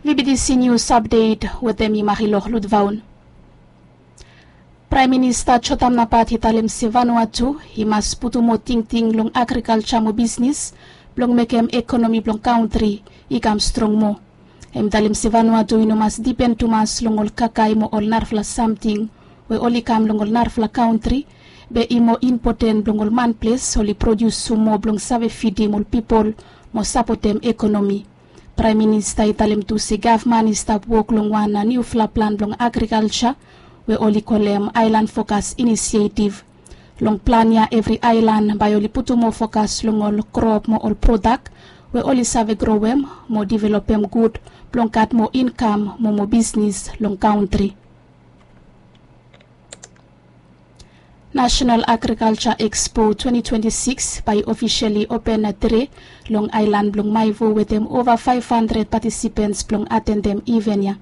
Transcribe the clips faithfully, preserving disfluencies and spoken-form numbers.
Vibidisi nius apdet wetem i marilok lutvaun. Praem minista jotam napat i talem se vanua tu i mas putum moa tingting long agrikalja mo bisnis blong mekem ekonomi blong kantri i kam strong moa. Hem i talem se vanua tu i no mas dipen tumas long ol kakae mo ol narafala samting we oli kam long ol narafala kantri, be i moa impoten blong ol manples oli produsim moa blong save fidim ol pipol mo sapotem ekonomi. Praem minista i talem tu se gavman i stap wok long wan niufala plan blong agrikalja we oli kolem aelan fokas inisietiv. Long plan ya evri aelan bae oli putum moa fokas long ol krop mo ol prodak we oli save growem mo developem gud blong gat moa inkam mo moa bisnis long kantri. Nasenal Agrikalja Ekspo twenti twenti sikis bae i ofiseli open tre long aelan blong maevo wetem ova faef handred patisipens blong atendem iven ya.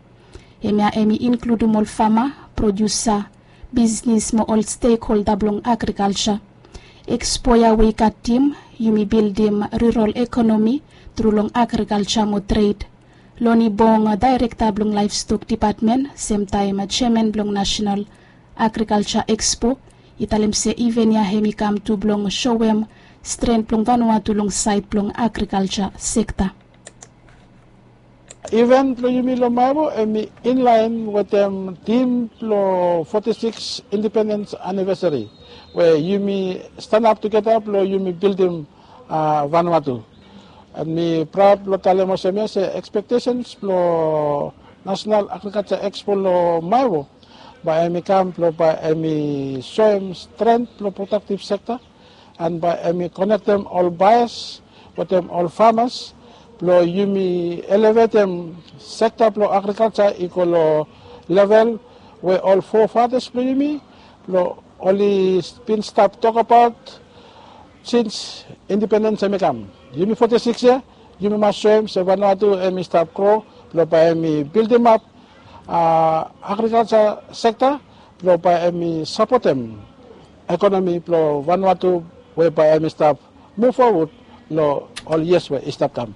Hemia hem i inkludim ol fama, produsa, bisnis mo ol stekholda blong agrikalja. Ekspo ya we i gat tim yumi bildim rurol ekonomi tru long agrikalja mo tred. Loni bong daerekta blong laevstok dipatmen semtaem jeaman blong nasenal agrikalja ekspo i talem se iven ya hem i kam tu blong soem stren blong vanua tu long saed blong agrikalja sekta. Iven blong yumi long maevo hem i inlaen wetem tim blong foti sikis indipendens anivesari we yumi stanap tugeta blong yumi bildim vanua tu. An mi praod blong talem olsem ya se ekspektesens blong nasenal agrikalja ekspo long maevo bae hem i kam blong bae hem i soem stren blong prodaktiv sekta an bae hem i konektem ol baes wetem ol famas blong yumi elevetem sekta blong agrikalja i go long level we ol fofatas blong yumi blong oli bin stap tokabaot sins indipendens hem i kam. Yumi foti sikis yia yumi mas soem se vanua tu hem i stap gro blong bae hem i bildimap agrikalja sekta blong bae hem i sapotem ekonomi blong vanua tu we bae hem i stap muv fowod long ol yias we i stap kam.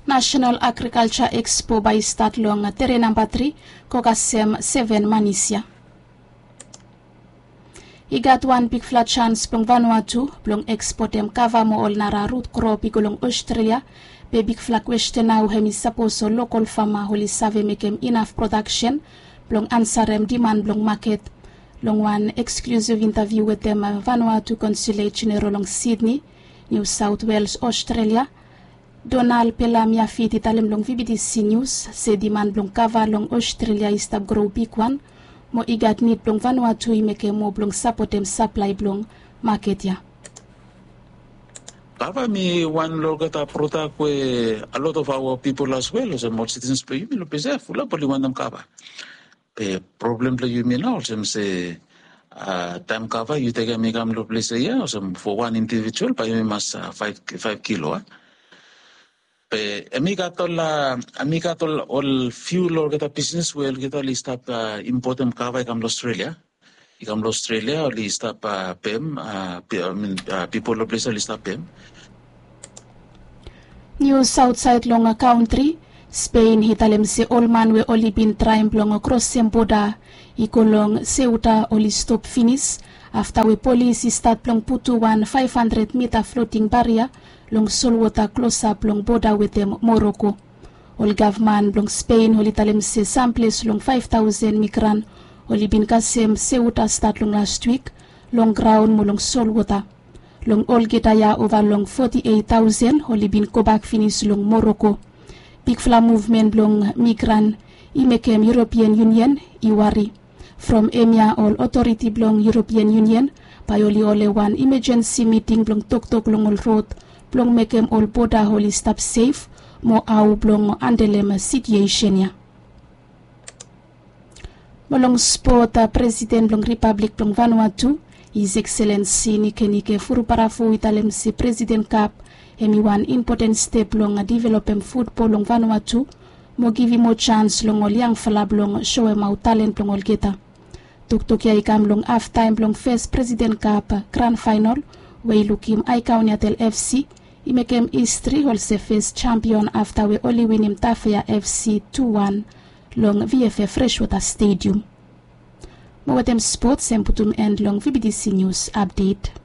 Nasenal agrikalja ekspo bae i stat long tere namba tri go kasem seven manis ya. I gat wan bigfala jans blong vanua tu blong ekspotem kava mo ol nara rut krop i go long Australia. Be bigfala kwesten nao hem i sapos ol lokol fama oli save mekem inaf prodaksen blong ansarem diman blong maket. Long wan eksklusiv intaviu wetem vanua tu konsulet jeneral long Sydney, New South Wales, Australia, Donal Pelam Yafit i talem long VBTC News se diman blong kava long Australia i stap gro bigwan mo i gat nid blong vanua tu i mekem moa blong sapotem saplae blong maket ya. Kava mi wan long olgeta prodak we a lot of aoa pipol as wel olsem ol sitisens blong yumi long ples ya fulap oli wantem kava. Be problem blong yumi nao olsem se taem kava yu tekem i kam long ples ya olsem fo wan indivijual bae yumi mas faef kilo a. Be hem i gat ol a hem i gat ol fiu long olgeta bisnes we olgeta oli stap impotem kava i kam long Australia. I kam long Australia oli stap pem pipol long ples oli stap pem. Nius aotsaed long kantri, Spen i talem se ol man we oli bin traem blong krosem boda i go long Seuta oli stop finis afta we polis i stat blong putum wan faef handred mita floting baria long solwota klosap long boda wetem Moroko. Ol gavman blong Spen oli talem se samples long faef taosen migran oli bin kasem Seuta stat long lastwik long graon mo long solwota. Long olgeta ya ova long foti eit taosen oli bin gobak finis long Moroko. Bigfala muvmen blong migran i mekem European Union i wari. From hemia ol otoriti blong European Union bae oli holem wan imajensi miting blong toktok long ol rod blong mekem ol boda oli stap sef mo hao blong handelem sitiesen ya. Mo long spot, presiden blong ripablik blong Vanuatu, His Excellency Nikenike Vurobaravu, i talem se Presiden Cup hem i wan impoten step blong developem futbol long Vanuatu mo givim moa jans long ol yangfala blong soemaot talen blong olgeta. Toktok ya i kam long haftaem blong fes Presiden Cup gran faenol we i lukim Aekauniatel FC I mekem histri olsem fes champion afta we oli winim Tafea FC tu wan long VFF Freshwater Stadium. Mo wetem spots em putum end long VBTC News Update.